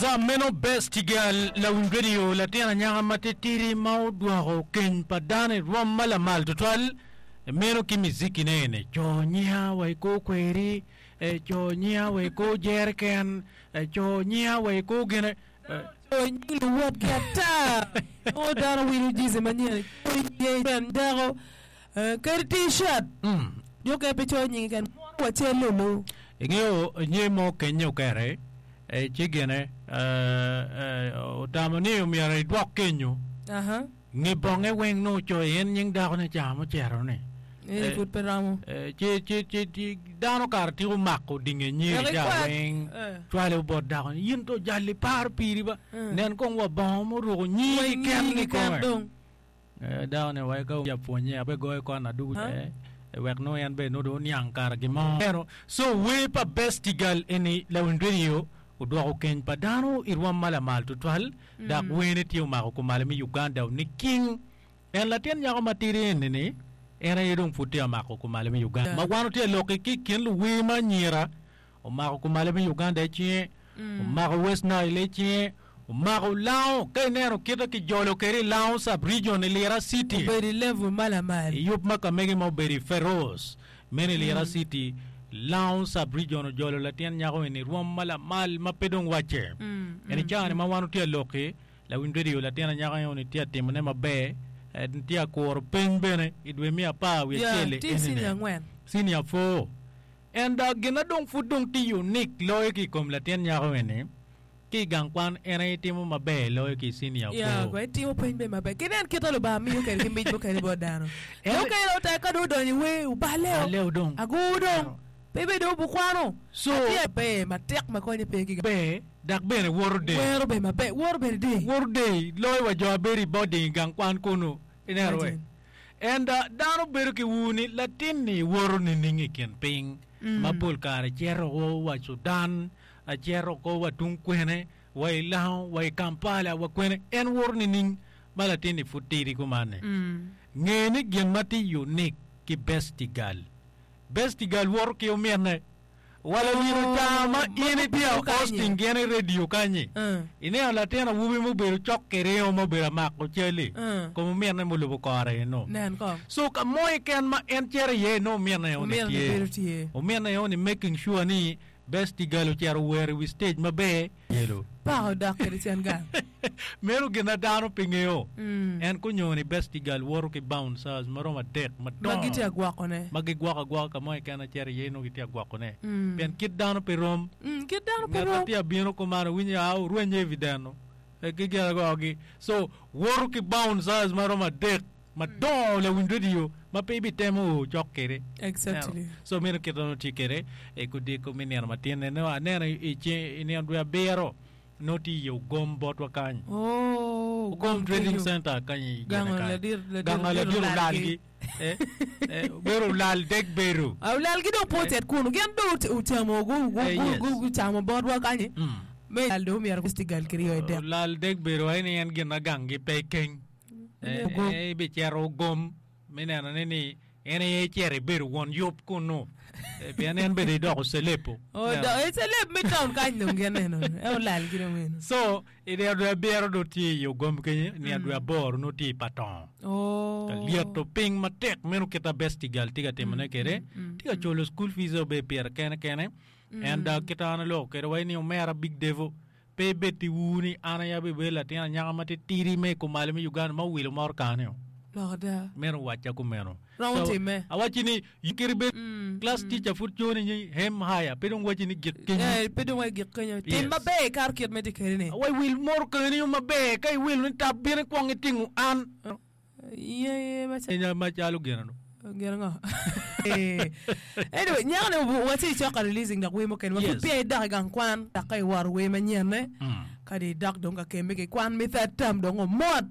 Yes, meno Best Girl lawiny radio latin anyaka matitidi ma odwoko keny pa dano i rwom ma lamal tutwal. Meno ki mizikine eni, co nyiya wa i kor kweri, co nyiya wa i kor jereken, co nyiya wa i kor gine. Co nying luwotgi ata, nongo dano wilo jizi manyen, co nying dako. Kadi T-shirt, jo okene pe coyo nyingi keken, mono wa cal lulu. Ingeyo nyer mo kenye okere ci gine otamo ni omyero edwok kenyo. Nge bonge weng nongo ocoyo en nying dakone ca mucito ni. Eni pud pe romo. Ci ci ci dano kare tiko mako dinge nyeri ca weng cwalo bot dako ni in to jal iparo piri ba nen kong wa bongo muruko nyingi keken kikome. Dako-ni owaco ka oya pwonye abe goyo kon adugu wek nongo en bene nongo dong oniang kara gin mo. So wer pa Bestigal eni lawiny radio odwoko keny pa dano i rwom ma lamal tutwal dok werne tye omako kumalo me Uganda niking en latin nyako matidi eni ni en aye dong pud tye amako kumalo me Uganda ma wan watye ka lok ki ikin luwer ma anyira Omako kumalo me Uganda i cinge, omako West Nile i cinge, omako Lango. Ka ineno kite kijolo kwede i Lango Sub Region i Lira City. Obedo i level ma lamal. I yub ma kamege ma obedo i Feroz meno i Lira City, Lango Sub Region ojolo latin nyako eni rwom ma lamal ma pe dong wacce. En i caa ni ma wan watye ka lok-ki, lawiny radio latin anyaka eni tye ka timone maber, en tye ka kuro peny bene i dwe me apar wiye acel-li enini, senior four. En dok gin na dong pud dong tye unique loyo ki i kom latin nyako eni, ki i gang kwan en aye timo maber loyo ki i senior Ya, four. gwok itimo peny bene maber. Ki nen kit ma Lubanga miyo kwede ki mic mukene bot dano. En- Jo mukene dong tek ka dong odonyo i wer, oballe o. Balle o dong. Agur dong. Pe bene dong obukwano. So- Atye maber matek ma konye pe ki gang. Ber, dok bene woto del. Wero bene maber, woto bene del. Woto del loyo wa jo a bedo i boarding i gang kwan kunu. Ineno we? Imagine. Ento dano bedo ki ur ni latin-ni woto nining i kin piny ma pol kare cito wa Sudan, cito oko wa tung kwene, wa i Lango, wa i Kampala, wa kwene. En woto nining ma latin-ni pud tidi kuman-ni? Nge ni gin ma tye unique ki Bestigal, Bestigal woto ki ominne. Wa lawil car ma in itye a hosting gin i radio kanyi, ineno latin awobi mubedo cok ki ringo ma obedo amako cal-li, kom ominne mulubo kore eno. So ka mo keken ma en cito iye nongo ominne eno-ni tye. Ominne eno-ni making sure ni Bestigal ocito owero i wi stage maber. Yelo. Paka odok kwede cen gang. Meno gin ma dano pe ngeyo. En kunyo ni Bestigal woto ki bouncers ma romo adek madongo. Ma gitye ka gwokone. Ma gigwoko agwoka ka mo keken acito iye nongo gitye ka gwokone. Pien kit dano pe rom. Kit dano pe Ngat ma rom. tye ka bino kumano winyo aa orwenye i wi deno. Ki gin agogi. So woto ki bouncers ma romo adek. Madongo lawiny radio ma pe ibitemo o cok kwede. Exactly. So meno kit ma tye kwede i kodiko me nino matin neno aneno i ceng i nino dwe abiro nongo tye i ogom botwa kany. Oh, Ogom Trading Center kany i Gango gine kany. ladit ladit Gango ladit olalgi. olalgi. Eh, eh, bedo olal dek bedo. Ah, olalgi dong pe ocit kunu. Gin dong ocamo gu gu Eh, gu yes. gu gucamo botwa kanyi. Mm. Me lal dong myero festival kiryo i dek. Olal dek bedo aye ni en gin ma ganggi pe keng. Ibicito ogom me nenone ni en aye icito ibedo won yub kunnu, pien en bene idoko celeb-o. Celeb me taun kany dong gin eno, en olal ki dong eno. So, i nino dwe abiro dong tye i ogom kenyo, i nino dwe aboro nongo tye i Patong. Ka lyeto piny matek meno kit ma Bestigal tye ka timone kwede, tye ka culo school fees obedo pire kene kene. En dok kit ma an aloko kwede waci ni omera Big Devo Pe ibed ki ur ni an aye abibedo latin anyaka matitidi me i kumalo me Uganda ma owilo motokane-o. Lok ada. Meno owacca kumeno. Romo So, timme. awacci ni, kit ibed class teacher pud coni ni aim higher, pe dong wacci ni gik kenyo. Eh, pe dong wai gik kenyo. Tim Yes. maber ikato kit ma itye kwede-ni. Wa iwil motokani maber, ka iwilo ni tap bino ikwong itingo an. Ye Macalo gin ango? Gin ango? Anyway, nyako ni watye i cok ka releasing dok wer mukene ma pud Yes. peya idok i gang kwan dok ka iwoto wer manyenne Mm. kadi idok dong ka kemme ki kwan me third term dong omot.